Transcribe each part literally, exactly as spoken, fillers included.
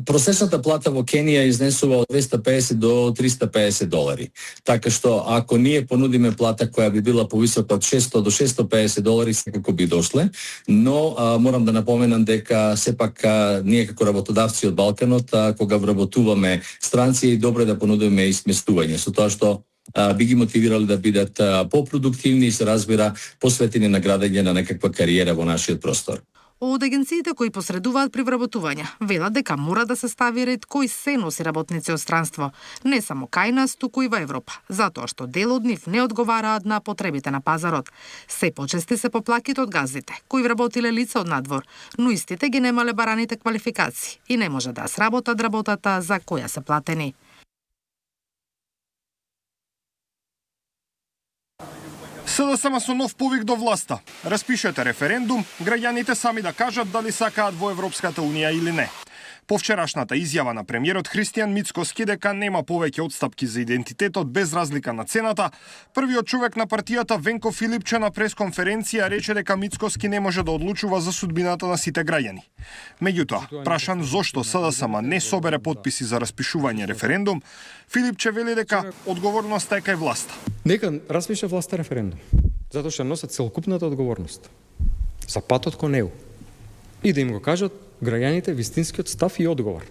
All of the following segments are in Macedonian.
просечната плата во Кенија изнесува од двеста педесет до триста педесет долари. Така што ако ние понудиме плата која би била повисока од шесто до шесто педесет долари, секако би дошле, но а, морам да напоменам дека сепак а, ние како работодавци од Балканот, а, кога вработуваме странци, е добро да понудиме и сместување, со тоа што а, би ги мотивирали да бидат а, попrodуктивни и се разбира посветени на градење на некаква кариера во нашиот простор. Од агенциите кои посредуваат при вработување велат дека мора да се стави ред кој се носи работници од странство, не само кај нас, туку и во Европа, затоа што дел од нив не одговараат на потребите на пазарот. Се почести се поплаките од газдите, кои вработиле лица од надвор, но истите ги немале бараните квалификации и не може да сработат работата за која се платени. СДСМ со нов повик до власта. Распишете референдум, граѓаните сами да кажат дали сакаат во Европската Унија или не. По вчерашната изјава на премиерот Христијан Мицкоски дека нема повеќе отстапки за идентитетот без разлика на цената, првиот човек на партијата Венко Филипче на пресконференција рече дека Мицкоски не може да одлучува за судбината на сите граѓани. Меѓутоа, прашан зошто СДСМ не собере потписи за распишување референдум, Филипче вели дека одговорноста е кај власта. Нека распише власта референдум, затоа што носат целокупната одговорност за патот кон него и да им го кажат граѓаните вистинскиот став и одговор.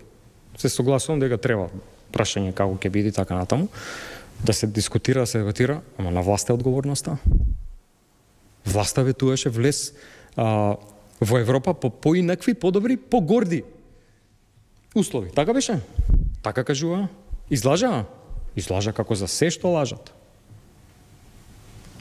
Се согласувам дека треба прашање како ќе биде така натаму, да се дискутира, да се дебатира, ама на власта е одговорноста. Власта ветуваше влез а, во Европа по поинакви, подобри, погорди услови. Така беше? Така кажува? Излажа? Излажа како за се што лажат.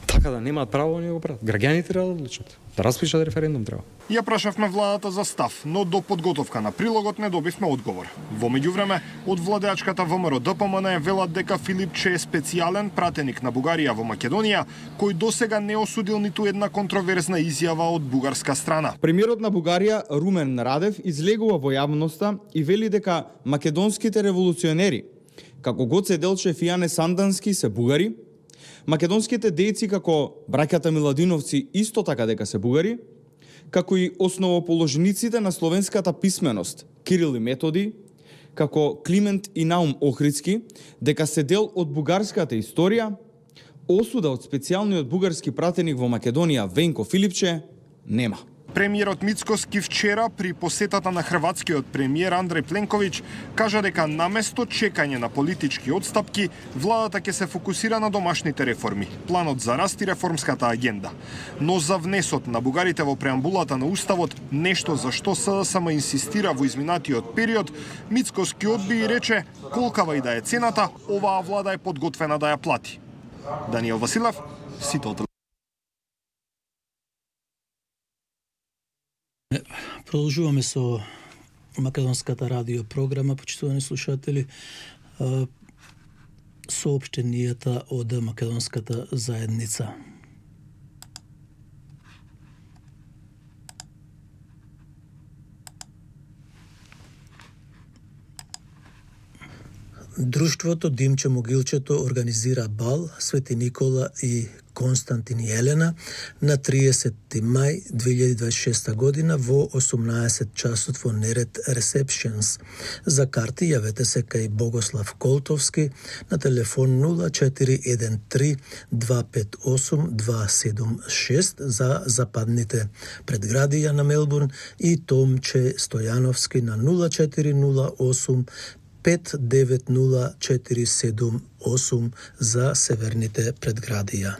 Така да немаат право да го прават. Граѓаните треба да одлучат. Да распишат референдум треба. Ја прашавме владата за став, но до подготовка на прилогот не добивме одговор. Во меѓувреме, од владеачката ВМРО Д П М Н велат дека Филипче е специјален пратеник на Бугарија во Македонија, кој досега не осудил ниту една контроверзна изјава од бугарска страна. Премиерот на Бугарија Румен Радев излегува во јавноста и вели дека македонските револуционери, како Гоце Делчев и Јане Сандански, се бугари, македонските дејци како браќата Миладиновци исто така дека се бугари, како и основоположниците на словенската писменост Кирил и Методи, како Климент и Наум Охридски, дека се дел од бугарската историја, осуда од специјалниот бугарски пратеник во Македонија Венко Филипче нема. Премиерот Мицкоски вчера при посетата на хрватскиот премиер Андреј Пленковиќ кажа дека наместо чекање на политички отстапки, владата ќе се фокусира на домашните реформи, планот за раст и реформската агенда. Но за внесот на бугарите во преамбулата на Уставот, нешто за што СДСМ инсистира во изминатиот период, Мицкоски одби и рече колкава и да е цената, оваа влада е подготвена да ја плати. Даниел Василев, Сител. Продолжуваме со македонската радио програма, почитувани слушатели, соопштенијата од македонската заедница. Друштвото Димче Могилчето организира бал Свети Никола и Константин и Елена на триесетти мај две илјади и дваесет и шеста година во осумнаесет часот во Нерет Receptions. За карти јавете се кај Богослав Колтовски на телефон нула четири еден три два пет осум два седум шест за западните предградија на Мелбурн и Томче Стојановски на нула четири нула осум пет девет нула четири седум осум за северните предградија.